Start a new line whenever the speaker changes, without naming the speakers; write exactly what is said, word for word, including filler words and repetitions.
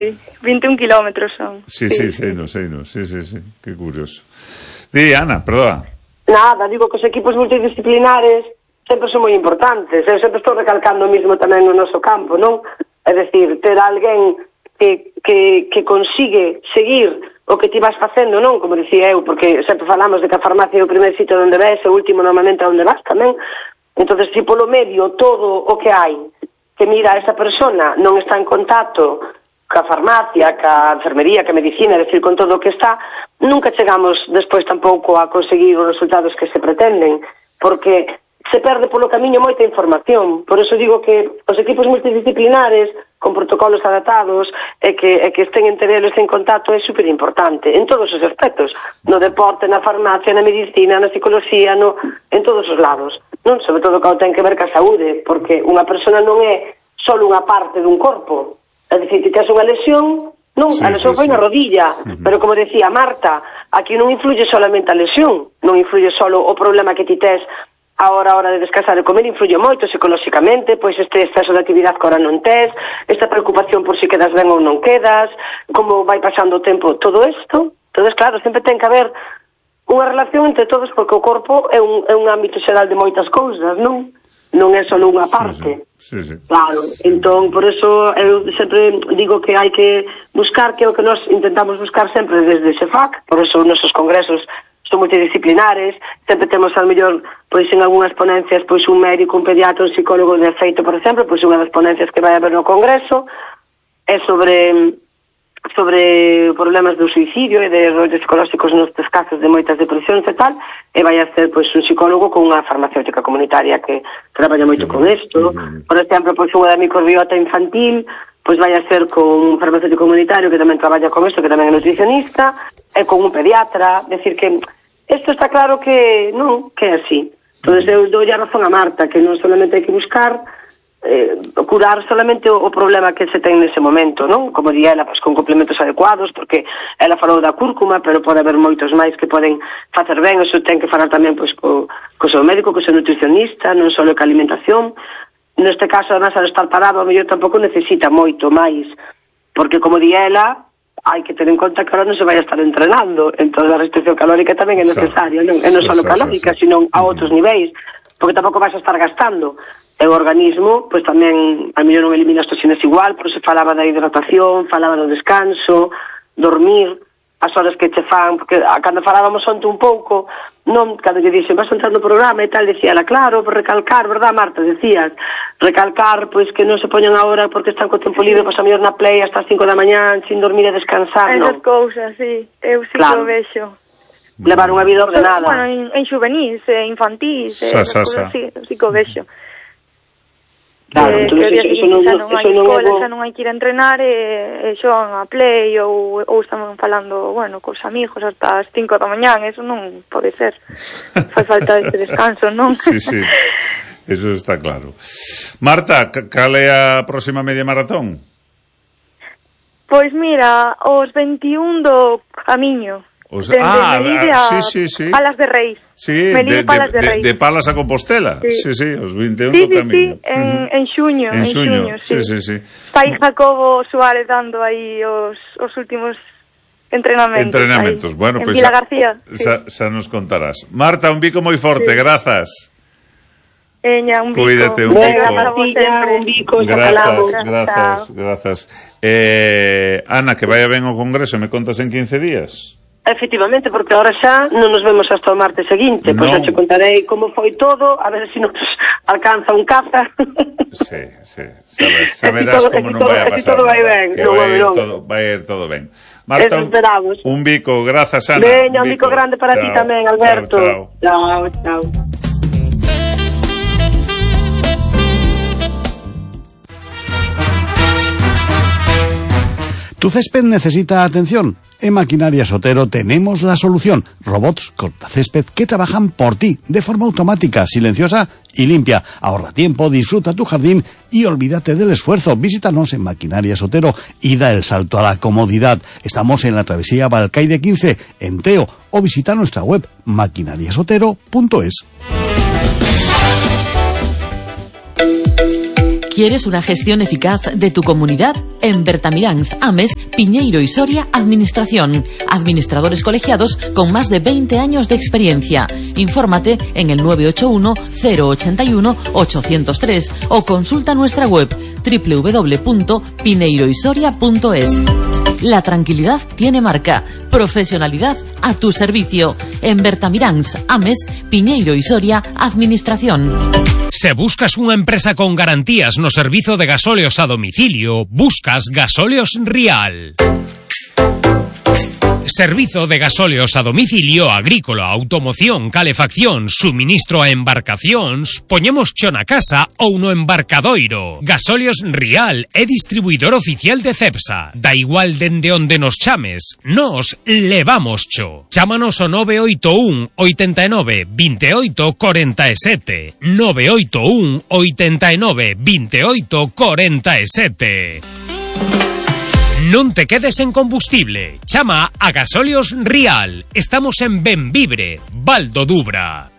vinte e un kilómetros son.
Sí, sí, sí, no sei, no, sí, sí, sí, que curioso. Di, Ana, perdona.
Nada, digo que os equipos multidisciplinares sempre son moi importantes. Eu sempre estou recalcando o mismo tamén no noso campo, non? É dicir, ter alguén que, que, que consigue seguir o que ti vas facendo, non? Como dicía eu, porque sempre falamos de que a farmacia é o primer sitio onde ves, e o último normalmente onde vas tamén. Entonces, se polo medio todo o que hai, que mira, esa persona non está en contacto ca farmacia, ca enfermería, ca medicina, é dicir, con todo o que está, nunca chegamos despois tampouco a conseguir os resultados que se pretenden, porque se perde polo camiño moita información. Por eso digo que os equipos multidisciplinares, con protocolos adaptados, e que, e que estén entre eles en contacto é superimportante, en todos os aspectos, no deporte, na farmacia, na medicina, na psicología, no, en todos os lados, non? Sobre todo cando ten que ver ca saúde, porque unha persona non é só unha parte dun corpo. É dicir, que tens unha lesión, non, sí, a lesión sí, foi sí. na rodilla, uh-huh. Pero como decía Marta, aquí non influye solamente a lesión, non influye solo o problema que ti tes a hora, a hora de descansar e comer, influye moito psicolóxicamente, pois este exceso de actividade que ahora non tes, esta preocupación por si quedas ben ou non quedas, como vai pasando o tempo, todo isto. Entonces, claro, sempre ten que haber unha relación entre todos, porque o corpo é un, é un ámbito xeral de moitas cousas, non? Non é só unha parte.
Sí, sí. Sí, sí.
Claro, sí. Entón, por eso eu sempre digo que hai que buscar, que é o que nós intentamos buscar sempre desde SEFAC, por eso os nosos congresos son multidisciplinares, sempre temos ao mellor, pois en algunhas ponencias, pois un médico, un pediatra, un psicólogo de feito, por exemplo, pois unha das ponencias que vai haber no congreso é sobre sobre problemas do suicidio e de rollos psicolóxicos nestes casos de moitas depresións e tal, e vai a ser pois un psicólogo con unha farmacéutica comunitaria que traballa moito sí, con isto. Sí. Por exemplo, pois unha da microbiota infantil, pois vai a ser con un farmacéutico comunitario que tamén traballa con isto, que tamén é nutricionista, e con un pediatra. Decir que isto está claro que non, que é así. Entón, eu dou a razón a Marta, que non solamente hai que buscar eh, curar solamente o, o problema que se ten nese momento, non? Como di ela, pois, con complementos adecuados, porque ela falou da cúrcuma, pero pode haber moitos máis que poden facer ben. Eso ten que falar tamén pois, co, co seu médico, co seu nutricionista, non só que a alimentación. Neste caso, además, al estar parado, a mellor tampouco necesita moito máis, porque, como di ela, hai que ter en conta que ahora non se vai a estar entrenando, entón a restricción calórica tamén é necesaria, non? E non só calórica, sino a outros niveis, porque tampouco vais a estar gastando. E o organismo, pois tamén, a mellor non elimina as toxinas igual, pero se falaba da hidratación, falaba do descanso, dormir, as horas que che fan, porque cando falábamos onte un pouco, non, cando lle dixen, vas a entrar no programa e tal, decía ela, claro, por recalcar, verdad, Marta, decías, recalcar, pois que non se poñan agora porque están co tempo libre, pois a mellor na play hasta as cinco da mañán, sin dormir e descansar, non?
Esas cousas, sí, eu sí
claro.
Que o vexo.
Levar unha vida ordenada.
Bueno, en, en juvenís, en infantís,
sa,
sa,
sa.
Sí, sí que o vexo.
Claro,
eh,
entonces,
que
eso, eso non,
xa non hai
eso non
escola,
é
xa non hai que ir a entrenar e, e xogan a play ou, ou están falando, bueno, cos amigos hasta as cinco da mañán, eso non pode ser. Fai falta este descanso, non?
Sí, sí, eso está claro. Marta, cal é a próxima media maratón?
Pois mira, os veintiún do Camiño.
O sea, ah,
Melide
sí, sí, sí.
Palas de Reis.
Sí,
Melide,
de,
Palas de,
de,
Reis.
de Palas a Compostela. Sí, sí, sí os veintiún
sí,
do Camiño.
Sí, sí, en, uh-huh. en xuño.
En, en xuño,
xuño sí.
sí, sí, sí.
Está aí Jacobo Suárez dando aí os, os últimos entrenamentos.
Entrenamentos,
ahí,
bueno,
en
pois pues
Vila García.
Xa,
sí.
xa nos contarás. Marta, un bico moi forte, sí. Grazas.
Eña, un bico.
Cuídate, un bico.
Un bico,
grazas, grazas, grazas. Eh, Ana, que vaya ben o congreso, me contas en quince días.
Efectivamente, porque ahora xa non nos vemos hasta o martes seguinte, pois xa te contarei como foi todo, a ver se nos alcanza un caza.
Sí, sí, sabes, saberás como non vai a pasar.
Todo vai ben,
que vai ir todo, vai ir todo ben. Marta, un, un bico, grazas, Ana.
Veña, un bico grande para ti tamén, Alberto. Chao, chao.
¿Tu césped necesita atención? En Maquinarias Otero tenemos la solución. Robots cortacésped que trabajan por ti, de forma automática, silenciosa y limpia. Ahorra tiempo, disfruta tu jardín y olvídate del esfuerzo. Visítanos en Maquinarias Otero y da el salto a la comodidad. Estamos en la travesía Balcaide quince, en Teo, o visita nuestra web maquinarias otero punto es.
¿Quieres una gestión eficaz de tu comunidad? En Bertamiráns, Ames, Piñeiro y Soria, Administración. Administradores colegiados con más de veinte años de experiencia. Infórmate en el nueve ocho uno, cero ocho uno, ocho cero tres o consulta nuestra web doble u doble u doble u punto pineiro y soria punto es. La tranquilidad tiene marca. Profesionalidad a tu servicio. En Bertamiráns, Ames, Piñeiro y Soria, Administración.
Se buscas unha empresa con garantías no servizo de gasóleos a domicilio, buscas Gasóleos Rial. Servizo de gasóleos a domicilio, agrícola, automoción, calefacción, suministro a embarcacións, poñemos cho na casa ou no embarcadoiro. Gasóleos Rial é distribuidor oficial de Cepsa. Da igual dende onde nos chames, nos levamos cho. Chámanos ao nove oito un, oito nove, dos oito, cuatro sete. nove oito un, oito nove, dos oito, cuatro sete. Non te quedes en combustible. Chama a Gasóleos Rial. Estamos en Benvibre, Val do Dubra.